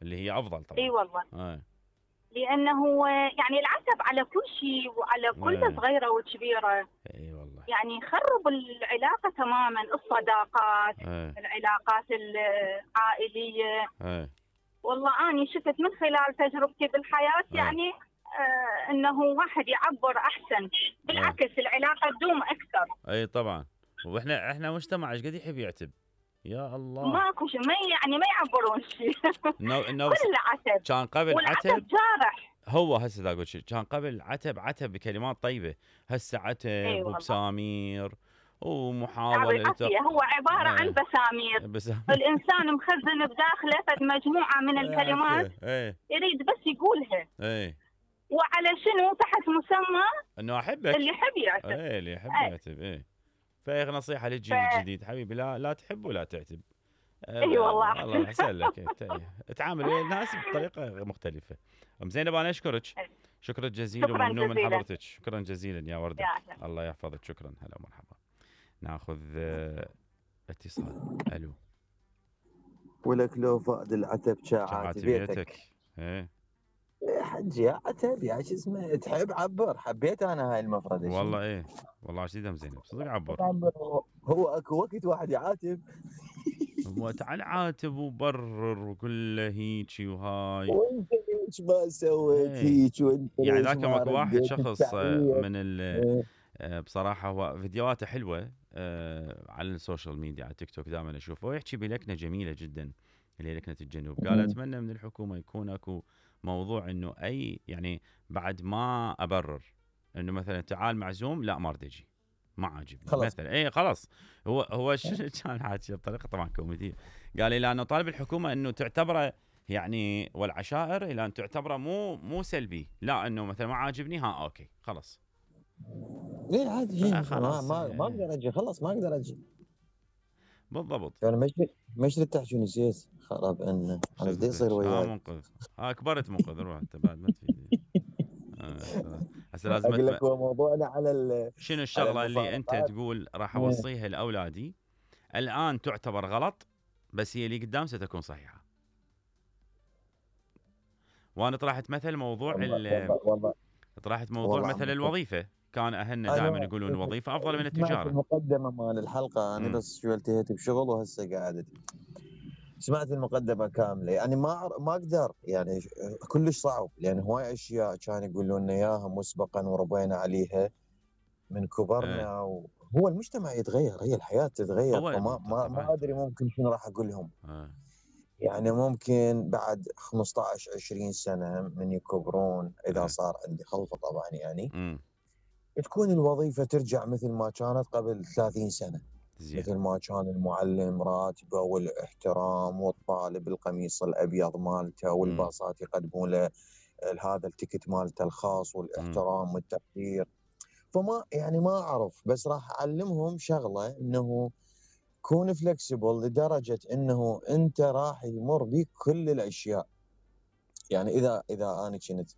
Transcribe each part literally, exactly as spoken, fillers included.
اللي هي افضل طبعا. اي والله. اي لانه يعني العتب على كل شيء وعلى كل صغيره وكبيره. اي والله. يعني يخرب العلاقه تماما، الصداقات، أي. العلاقات العائليه. اي والله اني شفت من خلال تجربتي بالحياه أي. يعني آه انه واحد يعبر احسن، بالعكس أي. العلاقه تدوم اكثر. اي طبعا. واحنا احنا مجتمع ايش قد يحب يعتب، يا الله. ماكو شيء، ما يعني ما يعبرون شيء. نو نو كل عتب. كان قبل والعتب عتب جارح. هو هسه دا اقول شيء، كان قبل عتب عتب بكلمات طيبه، هسه عتب أي وبسامير ومحاوله لتق... هو عباره عن بسامير. بسامير. الانسان مخزن بداخله فد مجموعه من الكلمات ايه. يريد بس يقولها. ايه. وعلى شنو؟ تحت مسمى انه احبك. اللي يحب يعتب. ايه اللي يحب أي. يعتب. ايه. فهي نصيحه للجيل ف... الجديد حبيبي، لا لا تحب ولا تعتب. اي والله الله احسن لك. تعامل ويا الناس بطريقه مختلفه. ام زينب انا اشكرك، شكرا جزيلا وممنون من حضرتك. شكرا جزيلا يا ورده. يا الله يحفظك. شكرا. هلا ومرحبا. ناخذ اتصال. الو. ولك لو فقد العتب شاعات بيتك. ايه يا حجي عتب يا شو اسمه، تحب عبر. حبيت انا هاي المفردة. والله ايه والله عشان ام زينب صدق عبر. هو اكو وقت واحد يعاتب تعال عاتب وبرر وكله هيجي وهاي، وانت ليش ما سويت هيك، وانت يعني ذاك اكو واحد شخص من ال بصراحه هو فيديوهاته حلوه على السوشيال ميديا على تيك توك دائما اشوفه، ويحكي بلكنه جميله جدا اللي هي لكنه الجنوب. قال اتمنى من الحكومه يكون اكو موضوع انه اي يعني بعد ما ابرر انه مثلا تعال معزوم لا ما اريد اجي ما عاجبني مثلا، اي خلاص. هو هو شنو كان حاكي بطريقه طبعا كوميديه، قال الى انه طالب الحكومه انه تعتبره يعني والعشائر الى ان تعتبره مو مو سلبي، لا انه مثلا ما عاجبني ها اوكي خلاص. ليه عادي ما ما ما اقدر اجي خلاص ما اقدر اجي. بالضبط. يعني مش مش تحكي نسيت خرب انه انا بدي يصير وياي. اه منقذ. ها كبرت منقذ روح انت بعد ما تفيدني. هسه لازم اقول لك هو موضوعنا على شنو الشغله اللي انت تقول راح اوصيها لاولادي الان تعتبر غلط بس هي اللي قدام ستكون صحيحه. وانا طرحت مثل موضوع ال والله طرحت موضوع مثل الوظيفه، كان اهلنا دائما يقولون الوظيفه افضل من التجاره. المقدمه مال الحلقه انا بس شو التهيت بشغل وهسه قاعد سمعت المقدمه كامله، يعني ما ما اقدر يعني كلش صعب، لان هواي اشياء كانوا يقولون لنا اياها مسبقا وربينا عليها من كبرنا. أه. وهو المجتمع يتغير، هي الحياه تتغير، فما ما, ما ادري ممكن شنو راح اقول لهم. أه. يعني ممكن بعد خمسة عشر عشرين سنه من يكبرون اذا أه. صار عندي خلفه طبعا يعني م. تكون الوظيفه ترجع مثل ما كانت قبل ثلاثين سنه. زي. مثل ما كان المعلم راتبه والاحترام والطالب القميص الابيض مالته والباصات يقدمون له هذا التيكت مالته الخاص والاحترام والتقدير. فما يعني ما اعرف، بس راح اعلمهم شغله انه كون فلكسبل لدرجه انه انت راح يمر بك كل الاشياء. يعني اذا اذا انا كنت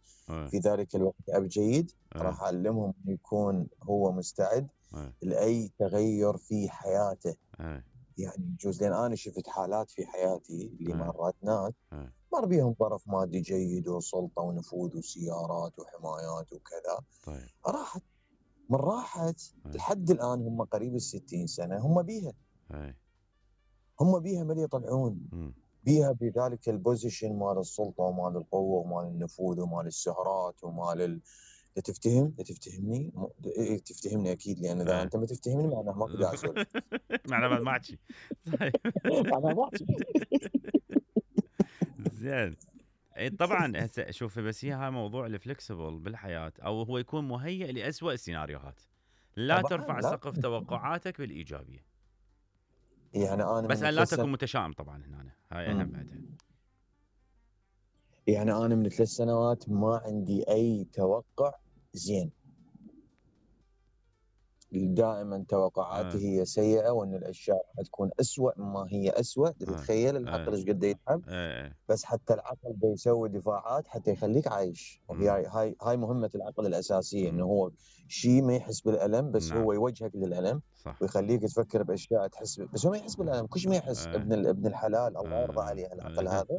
في ذلك الوقت اب جيد راح اعلمهم يكون هو مستعد أي. لاي تغير في حياته. أي. يعني يجوز لان انا شفت حالات في حياتي اللي مرات ناس مر بيهم ظرف مادي جيد وسلطه ونفوذ وسيارات وحمايات وكذا. طيب. راحت من راحت أي. لحد الان هم قريب الستين سنه هم بيها. أي. هم بيها ما يطلعون. م. بيها بذلك البوزيشن مال السلطه ومال القوه ومال النفوذ ومال السهرات ومال ال... تفتهم تفتهمني م... تفتهمني اكيد، لان اذا انت ما تفتهمني معناه ما قاعد اسولف. معناه ما احكي. معناه ما احكي. زين. اي طبعا هسه شوف، بس هي هاي موضوع الفلكسبل بالحياه او هو يكون مهيئ لأسوأ السيناريوهات. لا ترفع سقف توقعاتك بالايجابيه. يعني انا بس أن لا تكون متشائم طبعا هنا، هاي اهم بعدها. يعني انا من ثلاث سنوات ما عندي اي توقع زين، دائما توقعاتي آه. هي سيئه وان الاشياء تكون أسوأ مما هي أسوأ. تتخيل آه. العقل ايش آه. قد يتعب. آه. بس حتى العقل بيسوي دفاعات حتى يخليك عايش، وهي هاي هاي مهمه العقل الاساسيه، انه هو شيء ما يحس بالالم بس نعم. هو يوجهك للالم صح. ويخليك تفكر باشياء تحس ب... بس هو ما يحس بالالم، كل شيء ما يحس. آه. ابن ابن الحلال الله يرضى عليه العقل هذا